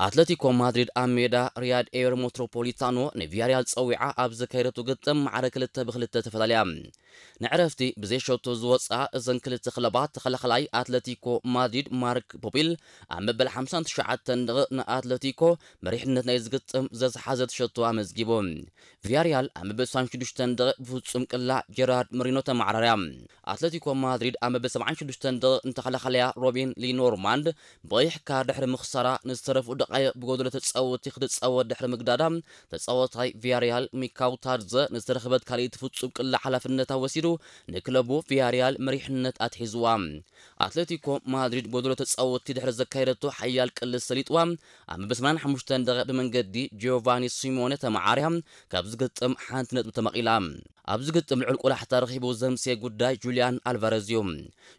ኣትለቲኮ ማድሪድ ኣብ ሜዳ ሪያድ ኤር ሜትሮፖሊታኖ ንቪያሪያል ጸዊዓ ኣብ ዘካየደቱ ግጥም ማዕረ ክልተ ብክልተ ተፈላለያ። ንዕረፍቲ ብዘይ ሸቶ ዝወፅኣ እዘን ክልተ ክለባት፣ ተኸላኸላይ ኣትለቲኮ ማድሪድ ማርክ ፖፒል ኣብ መበል ሓምሳን ትሽዓተን ደቂቕ ንኣትለቲኮ መሪሕነት ናይ ዝግጥም ዘዝሓዘት ሸቶ ኣመዝጊቡ። ቪያሪያል ኣብ መበል ስሳን ሽዱሽተን ደቂቕ ብፍጹም ቅላዕ ጀራርድ መሪኖ ተመዓራርያ። ኣትለቲኮ ማድሪድ ኣብ መበል ሰብዓን ሽዱሽተን ደቂቕ ንተኸላኸላያ ሮቢን ሊኖርማንድ ብቐይሕ ካርድ ድሕሪ ምኽሳራ፣ ንዝተረፉ ደቃይቕ ብጎደሎ ተጻወቲ ክትጻወት ድሕሪ ምግዳዳ፣ ተጻዋታይ ቪያሪያል ሚካው ታድዘ ንዝተረኽበት ካልኣይቲ ፍጹም ቅላዕ ሓላፍነታ ወሲዱ ንክለቡ ቪያሪያል መሪሕነት ኣትሒዝዋ። ኣትሌቲኮ ማድሪድ ጎደሎ ተጻወቲ ድሕሪ ዘካየደቶ ሓያል ቅልስ ሰሊጥዋ፣ ኣብ መበል ሰማንያን ሓሙሽተን ደቂቕ ብመንገዲ ጂዮቫኒ ሲሞኔ ተመዓርያ ካብ ዝግጥም ሓንቲ ነጥቢ ተመቒላ። ኣብ ዝግጥም ልዑል ቆላሕታ ረኺቡ ዘምስየ ጉዳይ ጁልያን ኣልቫረዝ እዩ።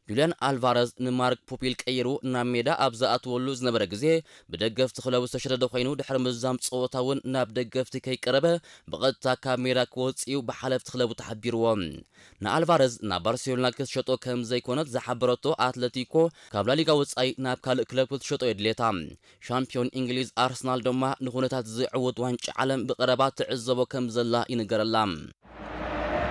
ጁልያን ኣልቫረዝ ንማርክ ፖፒል ቀይሩ ናብ ሜዳ ኣብ ዝኣትወሉ ዝነበረ ግዜ፣ ብደገፍቲ ክለቡ ዝተሸደደ ኮይኑ፣ ድሕሪ ምዝዛም ጸወታ እውን ናብ ደገፍቲ ከይቀረበ ብቐጥታ ካብ ሜዳ ክወጽእ እዩ ብሓለፍቲ ክለቡ ተሓቢርዎ። ንኣልቫረዝ ናብ ባርሴሎና ክትሸጦ ከም ዘይኮነት ዝሓበረቶ ኣትለቲኮ፣ ካብ ላሊጋ ወጻኢ ናብ ካልእ ክለብ ክትሸጦ የድልየታ። ሻምፒዮን እንግሊዝ ኣርሰናል ድማ ንኹነታት ዝዕውት ዋንጫ ዓለም ብቐረባ ትዕዘቦ ከም ዘላ ይንገረላ።